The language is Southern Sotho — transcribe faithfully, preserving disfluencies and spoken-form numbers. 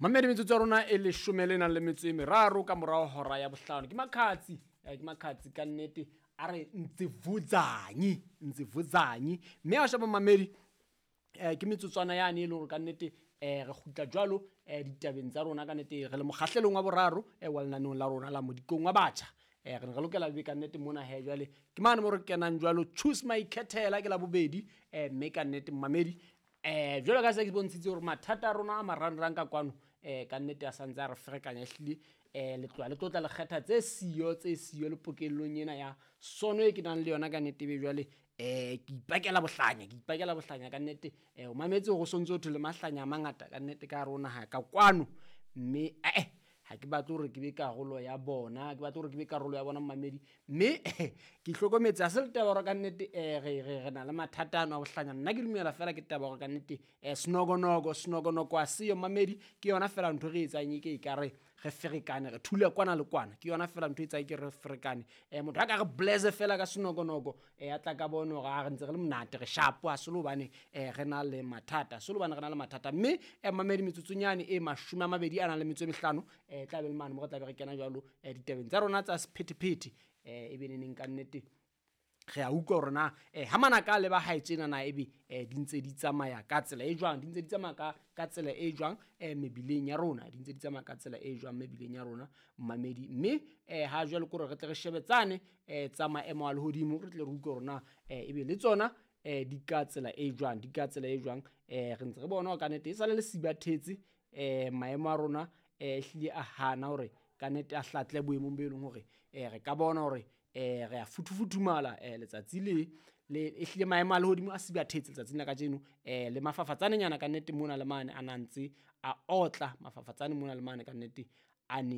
Mamedi, metsotso ya rona e leshome le nang le metso e meraro ka morao hora ya bohlano. Ke Makhadzi, eh, ke Makhadzi ka nnete a re Ntsivudzanyi, Ntsivudzanyi. Mme ha o sheba mamedi, eh, ke metsotswana yane e le hore ka nnete eh, re kgutla jwalo eh, ditabeng tsa rona ka nnete re le mokgahlelong wa boraro eh, wa lenaneong la rona la Modikong wa Batjha. Eh, re ne re lokela be ka nnete mona he jwale ke mane mo re kenang jwalo Choose My Khethela ke la bobedi, eh, mme ka nnete mamedi eh jwalo ka se ke bontshitse hore mathata a rona a marangrang ka kwano eh ka nnete a santse a re ferekanya ehlile, eh le tloha le tlotla le kgetha tse siyo tse siyo le pokellong ena ya sono e ke nang le yona ka nnete be jwale eh ke ipakela bohlanya, ke ipakela bohlanya ka nnete. Eh o mametse hore o sontso ho thwe le mahlanya a mangata ka nnete ka hare ho naha ka kwano, mme eh ha ke batle hore ke be karolo ya bona, ke batle hore ke be karolo ya bona mamedi. Mme ke hlokometse ha se le taba hore ka nnete eh re re re na le mathata ano a bohlanya. Nna ke dumela fela ke taba hore ka nnete eh snogonoko snogonoko a seyo mamedi, ke yona fela ntho re etsang e ke ekare re ferekane, re thula kwana le kwana, ke yona fela ntho e etsang ke re ferekane. Eh motho a ka re blesse fela ka snogonoko, eh a tla ka bona hore a re ntse re le monate, re sharp, ha se le hobane eh re na le mathata, se le hobane re na le mathata. Mme eh mamedi metsotsonyane e mashome a mabedi a nang le metso e mehlano eh tla be le mane mo re tla be re kena jwalo eh ditabeng tsa rona tsa sephethephethe, eh e be neneng ka nnete re a utlwa hore na eh ha manaka a leba hae tjena na ebe eh di ntse di tsamaya ka tsela e jwang, di ntse di tsamaya ka, ka tsela e jwang eh mebileng ya rona, di ntse di tsamaya ka tsela e jwang mebileng ya rona mamedi. Mme eh ha jwale ke hore re tle re shebetsane eh tsa maemo a lehodimo, re tle re utlwe hore na eh ebe le tsona eh di ka tsela e jwang, di ka tsela e jwang. Eh re ntse re bona hore ka nnete e sale le sibathetse eh maemo a rona eh ehlile a hana hore ka nnete a hlatle boemong bo e leng hore eh re ka bona hore eh re a futhufuthumala eh letsatsi le le ehlile maemo a lehodimo a sibathetse letsatsing la kajeno, eh le mafafatsanenyana ka nnete mona le mane a na ntse a otla, mafafatsane mona le mane ka nnete a ne